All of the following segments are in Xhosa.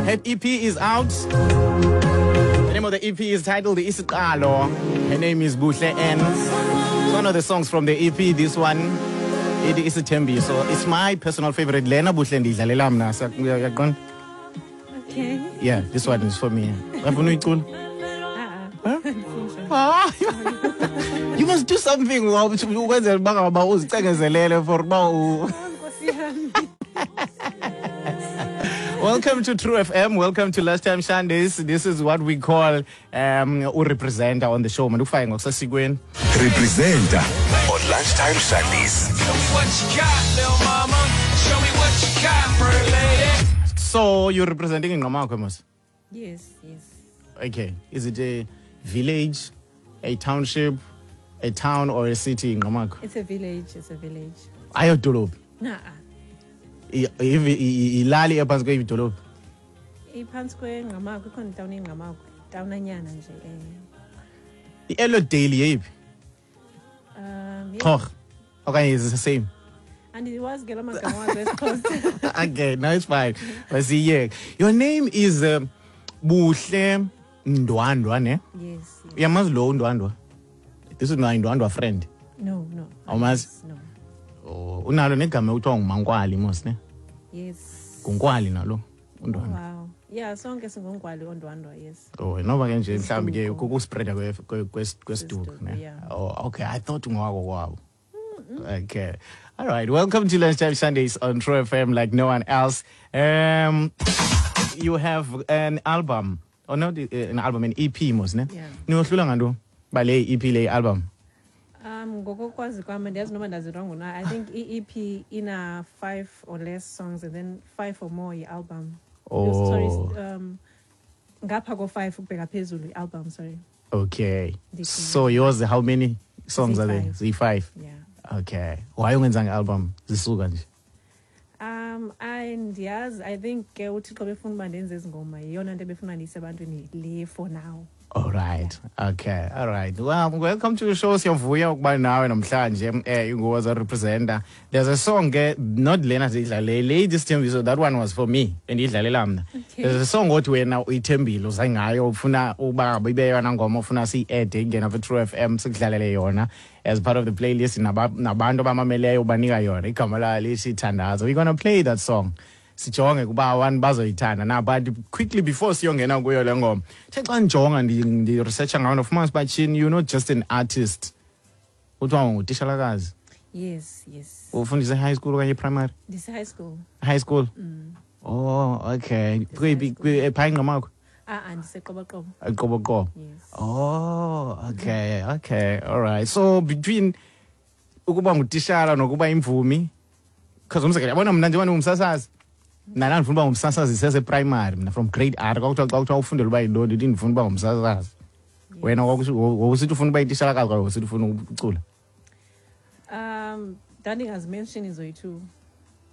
Her EP is out. The name of the EP is titled Isiqalo. Her name is Buhle N. It's one of the songs from the EP. This one, it is Isithembiso. It's my personal favorite. Lena Buhle ndiyidlalela mna. Uyaqonda? Okay. Yeah, this one is for me. Uyafuna uyicula? Ah. Ah, you must do something ukwenzela uba ngaba uzicengezelele for uba u Nkosi yami. Welcome to True FM. Welcome to Lunchtime Sundays. This is what we call urepresenter on the show. Mandikufake ngokusesikweni. Representer on Lunchtime Sundays. Show me what you got, little mama. Show me what you got, pretty lady. So you're representing Ngqamakhwe mos? Yes. Okay. Is it a village, a township, a town or a city Ngqamakhwe? It's a village. It's a village. Ayodolophu. Nah. Ilali ephantsi kweyidolophu. Iphantsi kweNgqamakhwe, ikhona itawuni eNgqamakhwe. Tawnanyana nje. Eh. I-Elliotdale yeyiphi? Yeah. Xhorha. Okanye is it the same? Andiwazi ke la magama wazo esiXhosa. Okay, no, it's fine. Masiyeke. Your name is Buhle Ndwandwa, ne? Yes. Uyamazi lo uNdwandwa? This is my Ndwandwa friend. No. Awumazi? No. Oh, unalo negama ekuthiwa nguMankwali mos, ne? Yes. Ngunkwali nalo uNdwandwa. Wow. Yeah, sonke singonkwali oNdwandwa, yes. Oh, noba ke nje mhlawumbi ke Isiduko. kukuspreada kwesiduko, Kwesiduko, ne? yeah. Oh, okay. I thought ungowako kwabo. Okay. All right. Welcome to Lunchtime Sundays on True FM like no one else. You have an album. Oh, not an album, an EP mos, ne? Yeah. Niyohlula ngantoni? Ba le EP, le album. Ngokokwazi kwami, andiyazi noba ndazi wrong na. I think i-EP ina 5 or less songs and then 5 or more i-album. Oh. Sorry, ngapha ko-5 ukubheka phezulu i-album, sorry. Okay. Ndicinga. So yours, how many songs are there? Ziyi-five. Z5. Yeah. Okay. Why ungenzanga album? Zisuka nje. I ndiyazi, I think ke uThixo befuna uba ndenze ezi ngoma, yiyona nto ebefuna ndiyise ebantwini le for now. All right. Okay. All right. Well, welcome to the show. Siyavuya ukuba nawe namhlanje. Ingoza representer. There's a song ke, not lena sidlale. Lady Sithembiso, that one was for me. Bendidlalela mna. Okay. There's a song othi wena uyithembile uzengayo ufuna uba ibe yona ngoma ufuna siyi-add ingena ku True FM sikudlalele yona as part of the playlist nabantu abamameleyo ubanika yona. Igama layo lithi Thandazo. We're going to play that song. Sijonge kuba abantu bazoyithanda na, but quickly before siyongena kuyo le ngoma, the xa ndijonga ndi-researcha ngayo, ndifumana uba tshini, you're not just an artist, kuthiwa ngutishalakazi. Yes. Ufundise high school okanye primary? Ndise-high school. High school. Oh, okay. Kweyiphi? Phaa eNgqamakhwe? Ah, ndiseQoboqobo. Qoboqobo. Yes. Oh, okay, all right. So between ukuba ngutishala nokuba imvumi, because umzekelo, yabona mna njengoba ndingumsasazi, mna ndandifuna uba ngumsasazi seseprimary mna, from grade R. Kwakuthiwa xa kuthiwa ufundela uba yintoni, ndithi ndifuna uba ngumsasazi. Wena wawusithi ufuna uba yitishalakazi kwaye wawusithi ufuna ukucula? Ndandingazimenshini zoyi-two.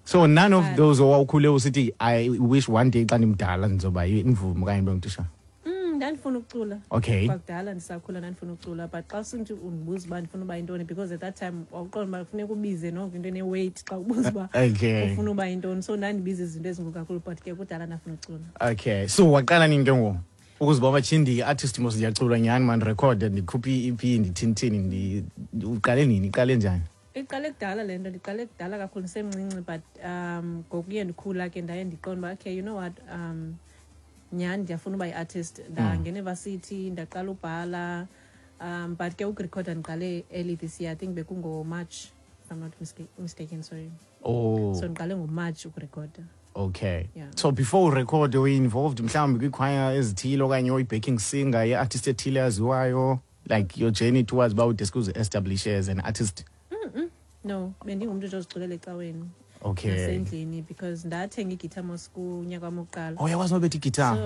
So none of But- those owawukhule usithi, "I wish one day xa ndimdala ndizoba imvumi okanye ndibe ngutishala"? Ndandifuna ukucula. Kwakudala ndisakhula ndandifuna ukucula, but xa usithi undibuza uba ndifuna uba yintoni, because at that time wawuqonda uba funeka ubize noko into ene-weight xa ubuza uba ufuna uba yintoni, so ndandibiza izinto ezinkulu kakhulu, but ke kudala ndafuna ukucula. Okay, so waqala nini ke ngoku ukuziba uba ndi-artist mos, ndiyacula nyhani, mandirekhode, ndikhuphe i-EP, ndithini-thini? Uqale nini, iqale njani? Iqale kudala le nto, ndiqale kudala kakhulu ndisemncinci, but ngokuye ndikhula ke ndaye ndiqonda uba okay, you know what, nyhani ndiyafuna uba yi-artist. Ndangena evasithi, ndaqala ubhala, but ke ukurekhoda ndiqale early this year. I think bekungoMarch, if I'm not mistaken, sorry. Oh. So ndiqale ngoMarch ukurekhoda. Okay. Yeah. So before urekhode uyi-involved mhlawumbi kwiikhwaya ezithile okanye uyi-backing singer ye-artist ethile yaziwayo, like your journey towards uba udeske uzi-establish as an artist? No, bendingumntu nje oziculela ecaweni nasendlini, because ndathenga igitha mos kunyaka wam wokuqala. Oh, uyakwazi nobetha igitara? So